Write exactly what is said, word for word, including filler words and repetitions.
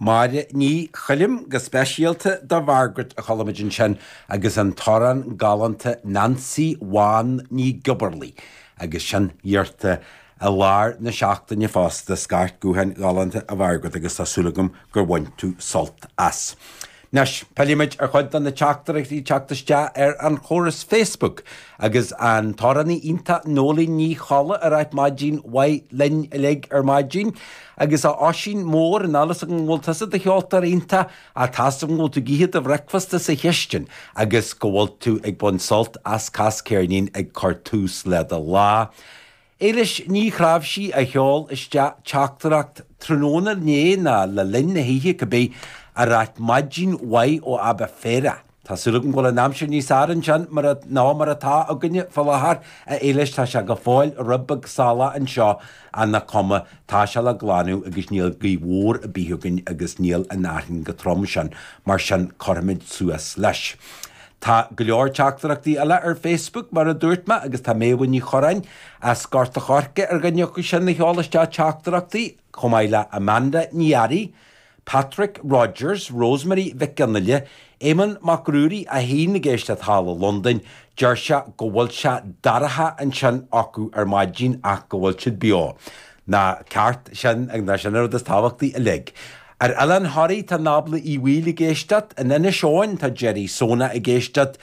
Máire Ní Choilm go speisialta do Mhargaret a chuala muid ansin agus an t-amhrán galánta Nancy Bhán Ní Ghiobarlaí agus sin iarrta i lár na seachtaine fosta scairt gutháin ghalánta a Mhargaret agus tá súil agam gur bhain tú sult as. Anois pillfimid ar chuid de na teachtaireachtaí teacht isteach ar an chóras Facebook agus an t-amhránaí iontach Nóilín Ní Cholla ag ráit maidin mhaith linn uilig ar maidin, agus a Oisín mór an allas an bhfuil tusa do cheoltóir iontach tá an bhfuil tú ag ithe do bhricfeasta sa chistin agus go bhfuil tú ag baint sult as Cas Ceirnín ag cur tús le do lá. Éilis ní chrámh a sheol isteach teachtaireacht tráthnóna inné ná le linn na hoíche cibé ag ráit maidin mhaith ó Aberfeldy. Tá súil agam go bhfuil an aimsir níos fearr ansin mar ná mar atá againne faoi láthair a Éilis tá sé go fóill ribeag salach anseo an na cuma tá sé le glanadh agus níl gaoth mhór ar bith againn agus níl an fhearthainn chomh trom sin mar sin cuirfimid suas leis. Tá go leor teachtaireachtaí eile ar Facebook mar a dúirt mé agus tá Méabh Ní Choráin as Gort an Choirce ar dhuine acu sin a sheol isteach teachtaireachtaí chomh maith le Amanda Ní Fhearraigh, Patrick Rogers, Rosemary Mhic Fhionnaile, Éamon Mac Ruairí a haon ag éisteacht thall i Londain, deir sé go bhfuil sé dorcha ansin acu ar maidin ach go bhfuil siad beo. Ná ceart sin ag ná sin rud is tábhachtaí uilig. Ar Oileán Thoraí tá Nábla Uí Bhaoill ag éisteacht, in Inis Eoghain tá Jerry Sona ag éisteacht,